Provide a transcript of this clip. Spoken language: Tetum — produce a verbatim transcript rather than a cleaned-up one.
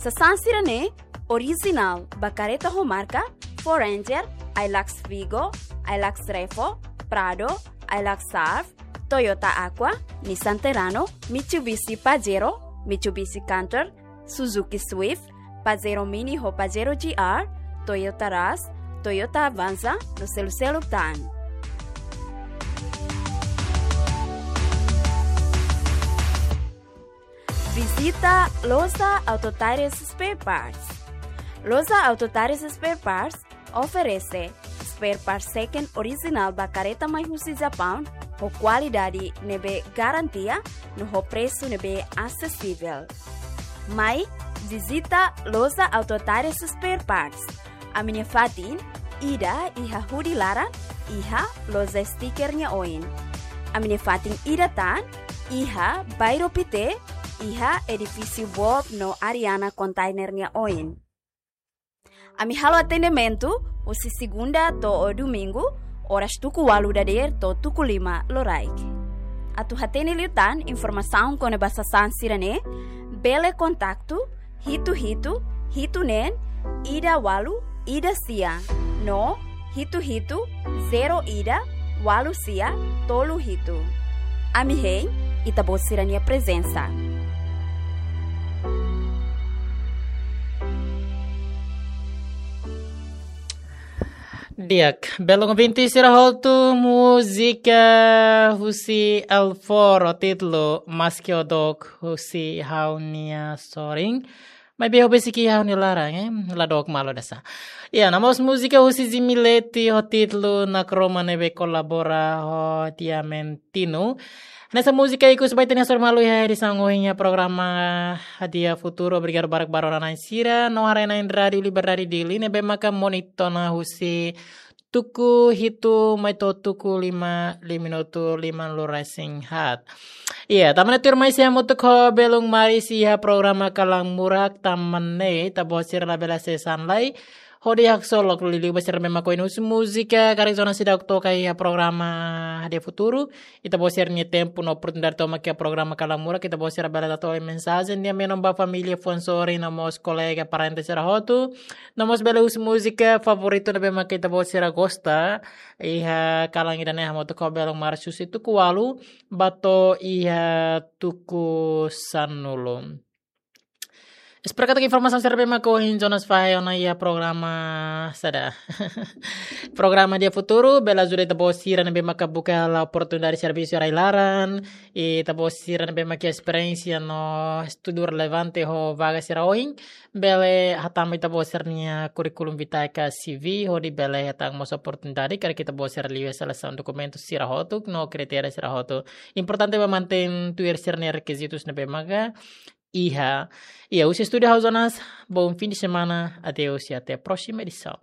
Sasán sira-ne'e orijinál ba kareta ho marka Ford Ranger, Hilux Vigo, Hilux Revo, Prado, Hilux Surf, Toyota Aqua, Nissan Terrano, Mitsubishi Pajero, Mitsubishi Canter, Suzuki Swift, Pajero Mini ho Pajero G R, Toyota Rush, Toyota Avanza, no seluk-seluk tan. Vizita Loja Auto Tires Spare Parts. Loja Auto Tires Spare Parts oferese spare parts second orijinál ba kareta mai husi Japaun, ho kualidade ne'ebé garantia, no ho presu ne'ebé asesivel. Mai vizita Loja Auto Tires Spare Parts. Ami-nia fatin ida iha hudi laran, iha loja stiker nia oin. Ami-nia fatin ida tan iha Bairro Pité, iha edifísiu Bob no Ariana Container nia oin. Ami halo atendimentu husi segunda to'o domingu, oras tuku ualu dadeer to'o tuku lima loraik. Atu hatene liután informasaun kona-ba sasán sira-ne'e, bele kontaktu hitu hitu hitu neen ida ualu ida sia, no hitu hitu zero ida ualu sia tolu hitu. Ami hein ita-boot sira-nia prezensa. Di'ak, belun ouvinte sira hotu, múzika husi Alforo, títulu Maski Ó Dook, husi ha'u-nia sorin. Maibé ho besik iha ha'u-nia laran, eh? La dook malu dasa. Ya, no mós múzika husi Jimmy Leti ho títulu Nakroma, ne'ebé kolabora ho Diamantino. Hanesan múzika ikus ba ita-nia sorin malu iha edisaun ohin iha programa Hadi'a Futuru. Obrigadu barak ba rona-na'in sira no haree-na'in Rádiu Liberdade Dili ne'ebé maka monitor ona husi tuku hitu mai to'o tuku lima, lima minutu lima lima resin-haat. Iya, tama ona tuirmai sei hamutuk ho belun maris iha programa Kalan Murak. Tanba ne'e ita-boot sira labele hasees an lai hodi haksolok liuliu ba sira ne'ebé mak oin husi múzika karik zona seidauk toka iha programa Hadi'a Futuru. Ita-boot sira-nia tempu no oportunidade tomak iha programa Kalan Murak, ita-boot sira bele tau mensajen di'ak menon ba família, fuan-sorin no mós kolega, parente sira hotu. No mós bele husu múzika favoritu ne'ebé mak ita-boot sira gosta iha kalan ida-ne'e, hamutuk ho belun maris husi tuku ualu ba to'o iha tuku sanulu. Espera katak informasaun sira ne'ebé mak ohin Jonas fahe ona iha programa saida. Programa Hadi'a Futuru bele ajuda ita-boot sira ne'ebé maka buka hela oportunidade servisu iha rai-laran, ita-boot sira ne'ebé mak iha esperiénsia no estudu relevante ho vaga sira oin, bele hatama ita-boot sira-nia kurríkulu vitae ka C V, hodi bele hetan mós oportunidade karik ita-boot sira liu iha selesaun dokumentu sira hotu no kritéria sira hotu. Importante ba mantein tuir sira-nia rekizitus ne'ebé maka iha. Iya, husi estúdiu ha'u Jonas, bom fim de semana, adeus e até a próxima edição.